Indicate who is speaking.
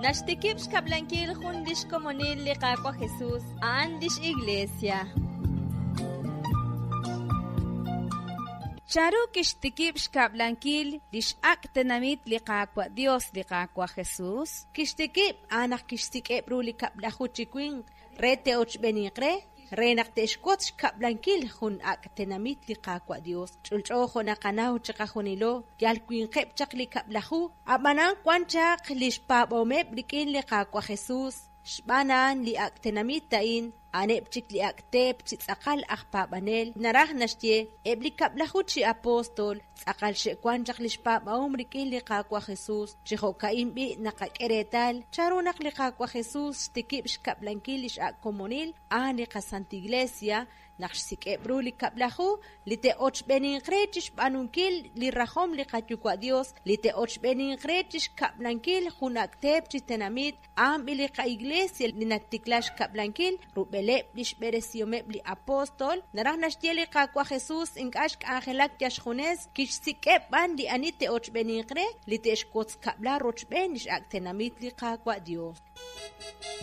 Speaker 1: Naxtikib' xkab'lankil jun lix komonil li Qaawa' Jesus, a'an lix Iglesia.
Speaker 2: Chanru kixtikib' xkab'lankil li x'ak' tenamit li Qaawa' Dios li Qaawa' Jesus?
Speaker 3: Kixtikib' a'an naq kixsik'eb' ru li 10 chi winq re te'ochb'eninq re, re naq te'xwotz xkab'lankil jun ak' tenamit li Qaawa' Dios. Ch'olch'o jo' naqanaw chiqajunilo, yal winqeb' chaq li 10, ab'anan wan chaq li xpaab'ahomeb' rik'in li Qaawa' Jesus. Xb'aan a'an li ak' tenamit a'in, a'aneb' chik li ak' teep chi tz'aqal aj paab'anel. Naraj naxye, eb' li 10 chi apóstol tz'aqal xe'wan chaq li xpaab'ahom rik'in li Qaawa' Jesus. Chi jo'ka'in b'i' naqak'e reetal chanru naq li Qaawa' Jesus xtikib' xkab'lankil li x'ak' komonil a'an li qaSanta Iglesia, naq xsik'eb' ru li 10 li te'ochb'eninq re chi xb'aanunkil li rajom li Qayuwa' Dios, li te'ochb'eninq re chi xkab'lankil jun ak' teep chi tenamit, a'an b'i li qa-Iglesia li natikla xkab'lankil rub'eleb' li xb'eresihomeb' li apóstol. Naraj naxye li Qaawa' Jesus ink'a' xk'anjelak yal xjunes, kixsik'eb' b'an li ani te'ochb'eninq re, li te'xwotz kab'la rochb'een li x'ak' tenamit li Qaawa' Dios.